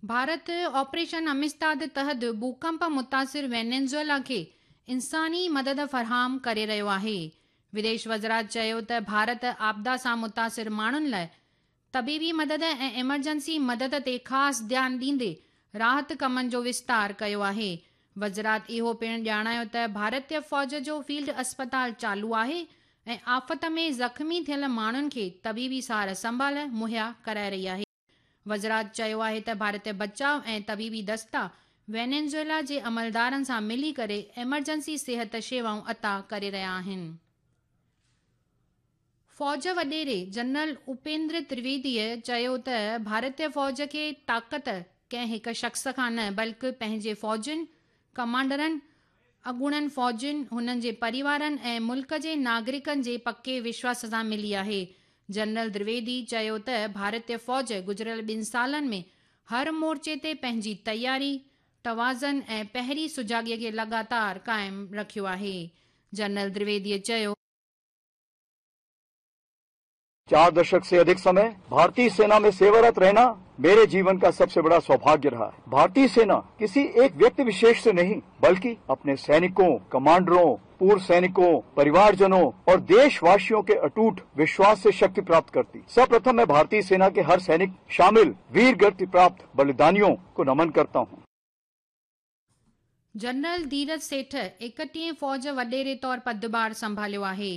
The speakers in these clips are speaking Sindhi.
ڀارت آپريشن امستاد تحت ڀوڪنپ متاثر وينيزويلا کي انساني مدد فراهم ڪري رهيو آهي. وديش وزارت چيو ته ڀارت آپدا سان متاثر ماڻهن لاء طبيبي مدد ۽ ايمرجنسي مدد تي خاص ڌيان ڏيندي راحت ڪمن جو وستار ڪيو آهي. وزارت اهو پڻ ڄاڻايو ته ڀارتي فوج جو فيلڊ اسپتال چالو آهي ۽ آفت ۾ زخمي ٿيل ماڻهن کي طبيبي سار سنڀال مهيا ڪرائي رهي آهي. وزارت چيو آهي ته ڀارتي بچاء ۽ طبيبي دستا وينيزويلا جي عملدارن سان ملي ڪري ايمرجنسي صحت شيوائون عطا ڪري رهيا آهن. فوج وڏيري جنرل اپيندر ترويديء چيو ته ڀارتي فوج کي طاقت ڪنهن هڪ شخص کان نه بلڪ پنهنجي فوجين، ڪمانڊرن، اڳوڻن فوجين، هنن جي پريوارن ۽ ملڪ جي ناگرڪن جي پڪي وشواس سان ملي آهي. جنرل درويدي چيو ته ڀارتي فوج گذريل ٻن سالن ۾ هر مورچي تي پنهنجي تياري، توازن ۽ پهري سجاڳي کي لڳاتار قائم رکيو آهي. جنرل درويدي چيو. 4 दशक से अधिक समय भारतीय सेना में सेवारत रहना मेरे जीवन का सबसे बड़ा सौभाग्य रहा है। भारतीय सेना किसी एक व्यक्ति विशेष से नहीं बल्कि अपने सैनिकों, कमांडरों, पूर्व सैनिकों, परिवारजनों और देशवासियों के अटूट विश्वास से शक्ति प्राप्त करती। सर्वप्रथम मैं भारतीय सेना के हर सैनिक शामिल वीर गति प्राप्त बलिदानियों को नमन करता हूं। جنرل ڌيرج سيٺ ايڪٽيهين فوج وڏيري طور پدڀار سنڀاليو آهي.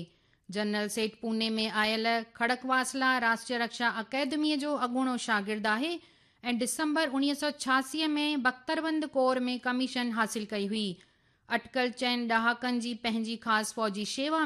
جنرل سيٺ پوني ۾ آيل کڙڪواسلا راشٽريه رڪشا اڪيدميء جو اڳوڻو شاگرد آهي ۽ ڊسمبر 1986 ۾ بختربند ڪور ۾ ڪميشن حاصل ڪئي هئي. اٽڪل چئن ڏهاڪن جي پنهنجي خاص فوجي شيوا.